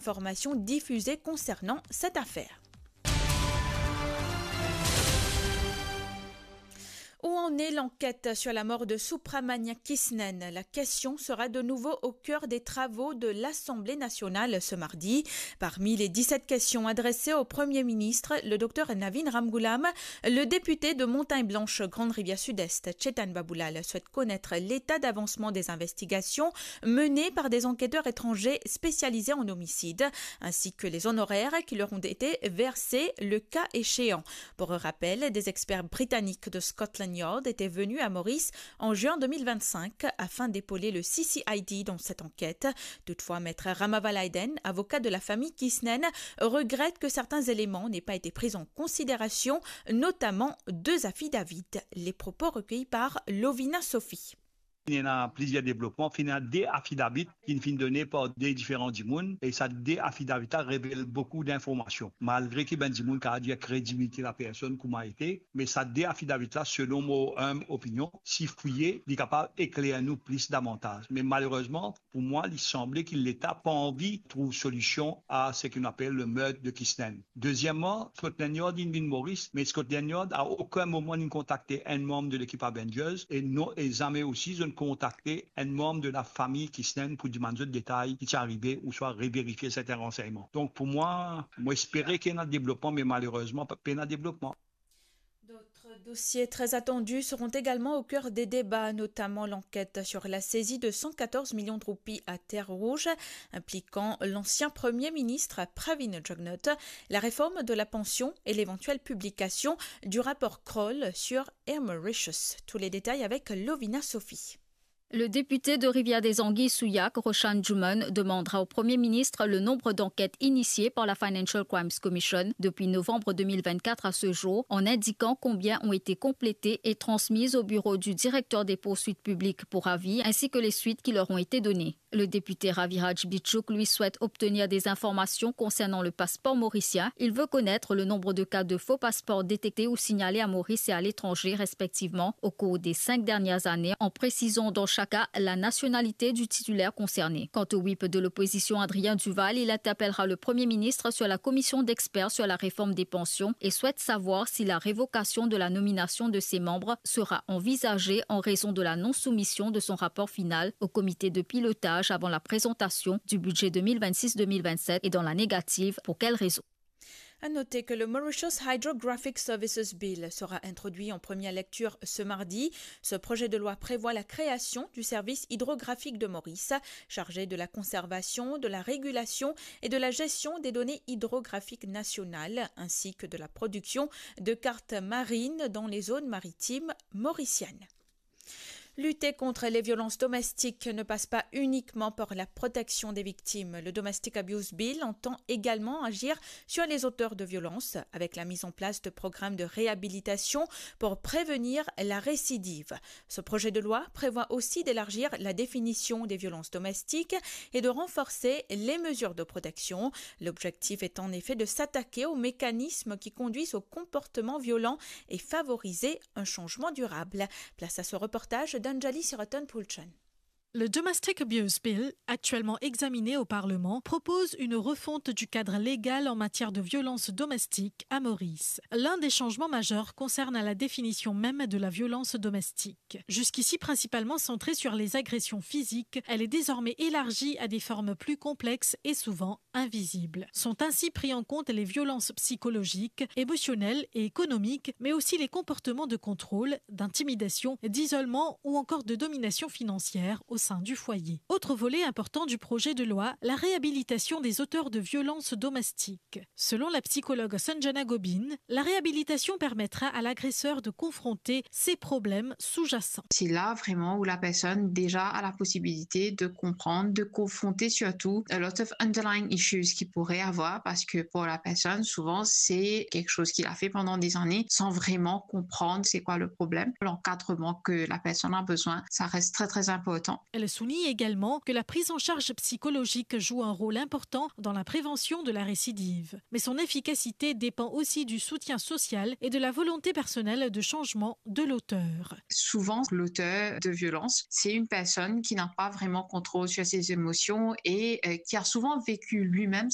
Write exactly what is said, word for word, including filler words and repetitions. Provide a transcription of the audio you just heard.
informations diffusées concernant cette affaire. Où en est l'enquête sur la mort de Subrahmanyam Krishnan ? La question sera de nouveau au cœur des travaux de l'Assemblée nationale ce mardi. Parmi les dix-sept questions adressées au Premier ministre, le docteur Navin Ramgoolam, le député de Montagne Blanche, Grande Rivière Sud-Est, Chetan Baboulal, souhaite connaître l'état d'avancement des investigations menées par des enquêteurs étrangers spécialisés en homicide, ainsi que les honoraires qui leur ont été versés le cas échéant. Pour rappel, des experts britanniques de Scotland Yard étaient venus à Maurice en juin deux mille vingt-cinq afin d'épauler le C C I D dans cette enquête. Toutefois, Maître Ramavalayden, avocat de la famille Krishnan, regrette que certains éléments n'aient pas été pris en considération, notamment deux affidavits. Les propos recueillis par Lovina Sophie. Ena plizier devlopman, finn ena de afidavit ki finn done par de diferan dimoun, e sa de afidavit la revel boukou dinformasion. Malgre ki bann dimoun kapav dir kredibilite lapersonn kouma ete, me sa de afidavit la, selon mo inb opinion, si fouye, li kapav ekler nou plis davantaz. Me malerezman, pou mwa, li sanble ki Leta pa anvi trouv solision a seki nou apel le meurtre de Krishnan. Dezieman, Scotland Yard inn vinn Moris, me Scotland Yard a okenn moman inn kontakte enn manm de lekip Avengers, e non, e zame osi zot inn kontakte enn manm de lafami Krishnan pou dimann zot detay ki ti arive ouswa reverifie sertin ransegnman. Donk pou mwa, mo espere ki ena devlopman, me malerezman, pa, pena devlopman. D'autres dossiers très attendus seront également au cœur des débats, notamment l'enquête sur la saisie de cent quatorze millions de roupies à Terre Rouge, impliquant l'ancien Premier ministre Pravind Jugnauth, la réforme de la pension et l'éventuelle publication du rapport Kroll sur Air Mauritius. Tous les détails avec Lovina Sophie. Le député de Rivière-des-Anguilles-Souillac, Roshan Juman, demandera au Premier ministre le nombre d'enquêtes initiées par la Financial Crimes Commission depuis novembre deux mille vingt-quatre à ce jour, en indiquant combien ont été complétées et transmises au bureau du directeur des poursuites publiques pour avis, ainsi que les suites qui leur ont été données. Le député Raviraj Bichuk, lui, souhaite obtenir des informations concernant le passeport mauricien. Il veut connaître le nombre de cas de faux passeports détectés ou signalés à Maurice et à l'étranger, respectivement, au cours des cinq dernières années, en précisant dans chaque cas la nationalité du titulaire concerné. Quant au whip de l'opposition, Adrien Duval, il interpellera le Premier ministre sur la commission d'experts sur la réforme des pensions et souhaite savoir si la révocation de la nomination de ses membres sera envisagée en raison de la non-soumission de son rapport final au comité de pilotage avant la présentation du budget deux mille vingt-six deux mille vingt-sept et dans la négative, pour quelles raisons ? À noter que le Mauritius Hydrographic Services Bill sera introduit en première lecture ce mardi. Ce projet de loi prévoit la création du service hydrographique de Maurice, chargé de la conservation, de la régulation et de la gestion des données hydrographiques nationales, ainsi que de la production de cartes marines dans les zones maritimes mauriciennes. Lutter contre les violences domestiques ne passe pas uniquement par la protection des victimes. Le Domestic Abuse Bill entend également agir sur les auteurs de violences, avec la mise en place de programmes de réhabilitation pour prévenir la récidive. Ce projet de loi prévoit aussi d'élargir la définition des violences domestiques et de renforcer les mesures de protection. L'objectif est en effet de s'attaquer aux mécanismes qui conduisent au comportement violent et favoriser un changement durable. Place à ce reportage d'Anjali Siraton-Pulchan. Le Domestic Abuse Bill, actuellement examiné au Parlement, propose une refonte du cadre légal en matière de violence domestique à Maurice. L'un des changements majeurs concerne la définition même de la violence domestique. Jusqu'ici principalement centrée sur les agressions physiques, elle est désormais élargie à des formes plus complexes et souvent invisibles. Sont ainsi pris en compte les violences psychologiques, émotionnelles et économiques, mais aussi les comportements de contrôle, d'intimidation, d'isolement ou encore de domination financière au sein du foyer. Autre volet important du projet de loi, la réhabilitation des auteurs de violences domestiques. Selon la psychologue Sanjana Gobin, la réhabilitation permettra à l'agresseur de confronter ses problèmes sous-jacents. C'est là vraiment où la personne déjà a la possibilité de comprendre, de confronter surtout a lot of underlying issues qu'il pourrait avoir, parce que pour la personne, souvent, c'est quelque chose qu'il a fait pendant des années sans vraiment comprendre c'est quoi le problème. L'encadrement que la personne a besoin, ça reste très, très important. Elle souligne également que la prise en charge psychologique joue un rôle important dans la prévention de la récidive. Mais son efficacité dépend aussi du soutien social et de la volonté personnelle de changement de l'auteur. Souvent, l'auteur de violence, c'est une personne qui n'a pas vraiment contrôle sur ses émotions et, euh, qui a souvent vécu lui-même